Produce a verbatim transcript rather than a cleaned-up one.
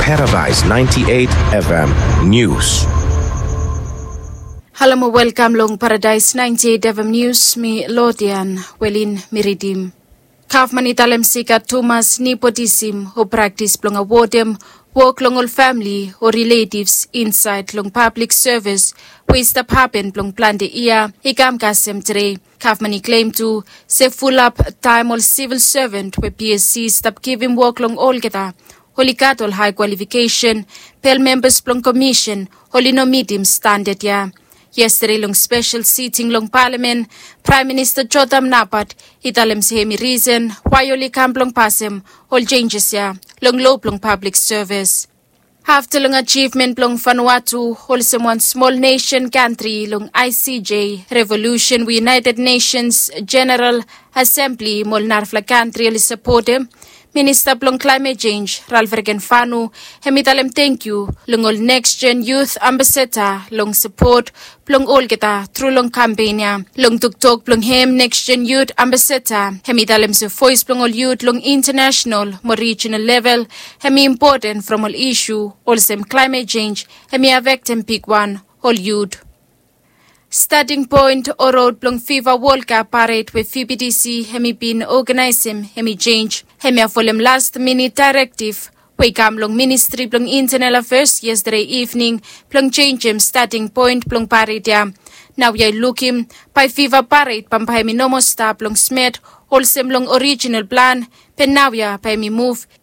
Paradise ninety-eight F M News. Halo mo welkam long Paradise ninety-eight F M News, mi Lodian Welin mi ridim. Gavman i talem se i gat tumas nepotism o praktis blong awodem wok long ol famili o riletivs insaed long pablik sevis we i stap hapen blong plante yia i kam kasem tede. Gavman i klem tu se fulap taem ol sivil sevan we P S C i stap givim wok long olgeta oli gat ol hae kwalifikesen, be ol membas blong komisen oli no mitim standad ya. Yestade long spesel siting long palamen, Praem Minista Jotham Napat i talem se hemi risen wae oli kam blong pasem ol jenjes ya long lo blong pablik sevis. Afta long ajivmen blong Vanuatu olsem wan smol nesen kantri long I C J revolusen we United Nations General Assembly mo ol narafala kantri oli sapotem, Minista blong Klaemet Jenj Ralph Regenvanu hemi talem tangkiu long ol Next Gen Youth Ambassador long sapot blong olgeta tru long kampen ya. Long toktok blong hem, Next Gen Youth Ambassador hemi talem se voes blong ol yut long intanasonal mo rijinal level hemi impoten from ol isu olsem klaemet jenj hemi afektem bigwan ol yut. Stating poen o rod blong FIFA World Cup pared we V B T C hemi bin oganaesem hemi jenj. Hemia folem last minit daerektiv we i kam long Ministri blong Intanal Afeas yestade ivning blong jenjem stating poen blong pared ya. Naoia i lukim bae FIFA pared bambae hemi no moa stap long Smet olsem long orijinal plan, be naoia bae hemi muv